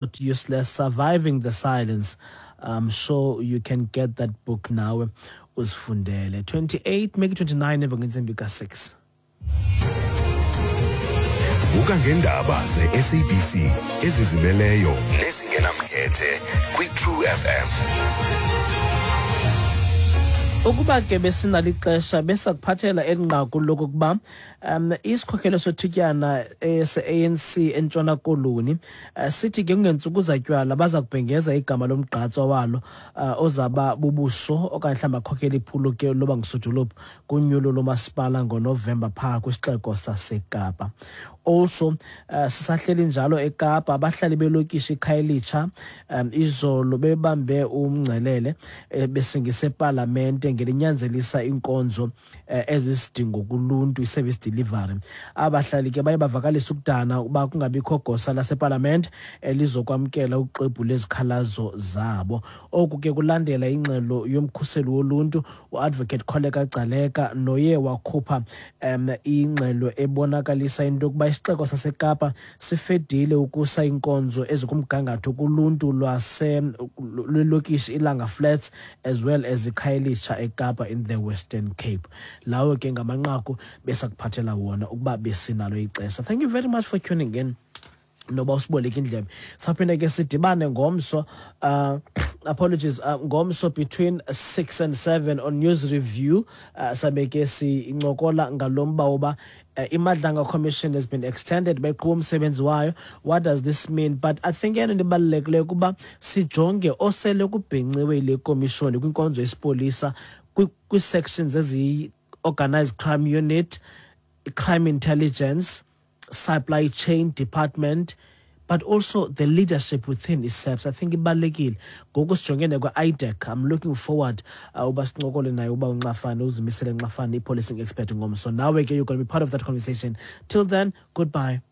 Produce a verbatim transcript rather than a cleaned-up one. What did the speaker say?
Not Useless, Surviving the Silence. I'm sure you can get that book now, uzifundele. twenty-eight, make it twenty-nine emva kwentsimbi ka-six. Vuka ngendaba ze-S A B C ezizimeleyo nezingenamkhethe kwi-True F M. Ukuba ke besinalo ixesha, besakuphathela eli nqaku lokokuba um isikhokelo sothutyana se-A N C eNtshona Koloni uh, sithi ke kungentsuku zatywala baza kubhengeza igama lomgqatswa walo uh, ozaba bubuso okanye mhlawumbi akhokela iphulo ke loba ngusodolophu kunyulo lomasipala ngoNovemba phaa kwisixeko saseKapa. Also, uh, sisahleli njalo eKapa, abahlali belokishi iKhayelitsha um izolo bebambe umngcelele eh, besingise epalamente ngelinyanzelisa iinkonzo eh, ezisidingo kuluntu, i-service delivery. Abahlali ke baye bavakalisa ukudana uba kungabikho gosa lasepalamente elizokwamkela uxwebhu lwezikhalazo zabo. Oku ke kulandela ingxelo yomkhuseli woluntu uAdvocate Kholeka Gcaleka, noye wakhupha um ingxelo ebonakalisa into yokuba isixeko saseKapa sifedile ukusa iinkonzo ezikumgangatho kuluntu lwase lwelokishi iLanga Flats as well as iKhayelitsha eKapa in the Western Cape. Lawo ke ngamanqaku besakuphathela wona ukuba besinalo ixesha. Thank you very much for tuning in, noba usiboleke indlebe. Saphinde ke sidibane ngomso, uh, apologies, uh, ngomso between six and seven on News Review. uh, sabe ke sincokola ngalo mba woba uh, iMadlanga Commission has been extended, beqhuba umsebenzi wayo. What does this mean? But I think eyona nto ibalulekileyo kuba sijonge osele kubhenciwe yile komishoni kwinkonzo yesipolisa, kwii-sections eziyi-organized crime unit, crime intelligence, supply chain department, but also the leadership within i-SAPS. I think ibalulekile ngoku sijongene kwe-IDAC. I'm looking forward uh, uba sincokole naye uba uNxafane, uZimisele Nxafane, i-policing expert, ngomso. Nawe ke you're going to be part of that conversation. Till then, goodbye.